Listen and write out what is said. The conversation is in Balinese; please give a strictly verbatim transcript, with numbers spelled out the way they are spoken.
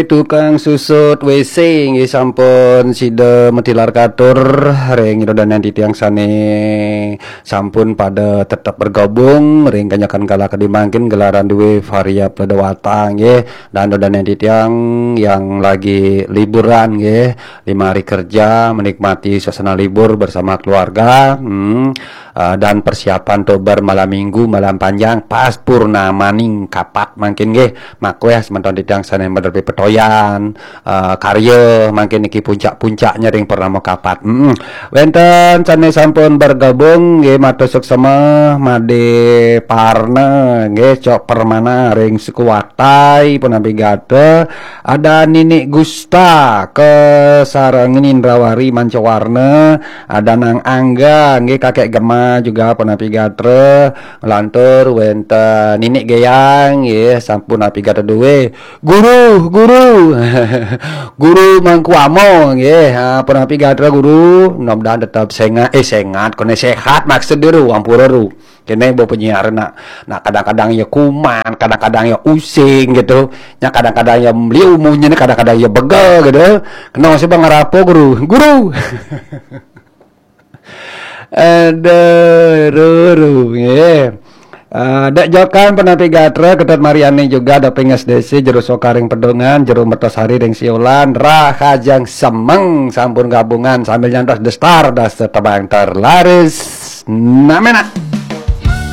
Tukang susut W C nggih sampun sida matilar katur ring ida dané titiang sané sampun pada tetep bergabung ring kanyakan kala kadi mangkin gelaran dué Varia Pledewata nggih, dan ida dané titiang yang lagi liburan nggih, lima hari kerja, menikmati suasana libur bersama keluarga. Hmm. Ah, dan persiapan untuk bermalam minggu, malam panjang, pas purnamaning kapat mangkin nggih. Makweh semeton titiang sané maderepi petoyan, ah, karya mangkin niki puncak-puncaknya ring purnama kapat. Mm-mm. Wénten sané sampun bergabung nggih, matur suksema, Madé Parna nggih, Cok Permana ring Sekuatai punapi gatra, ada Ninik Gusta kasarengin Indrawari Mancawarna, ada Nang Angga nggih, Kakek Gema juga punapi gatra, lantur wénten Ninik Geyang nggih, sampun punapi gatra dué. Guru, guru, guru Mangku Amo nggih, ha, punapi gatra guru, mudah-mudahan tetap sengat, eh, sengat, koné sehat maksud dulu, ampura ru. Kéné bo penyiar nak, nak kadang-kadang ya kuman, kadang-kadang ya using gitu. Nya kadang-kadang ya liu munyiné, kadang-kadang ya bega gitu. Kena sih bang apa guru? Guru. Aduh, ru, ru, nggih. Ah, Dek Jokan punapi gatra, Ketut Mariani juga, Doping S D C, Jero Sokaring Pedungan, Jero Mertasari ring Siolan, Rahajeng Semeng sampun gabungan sambil nyantos The Star, das tebang terlaris. Namenak.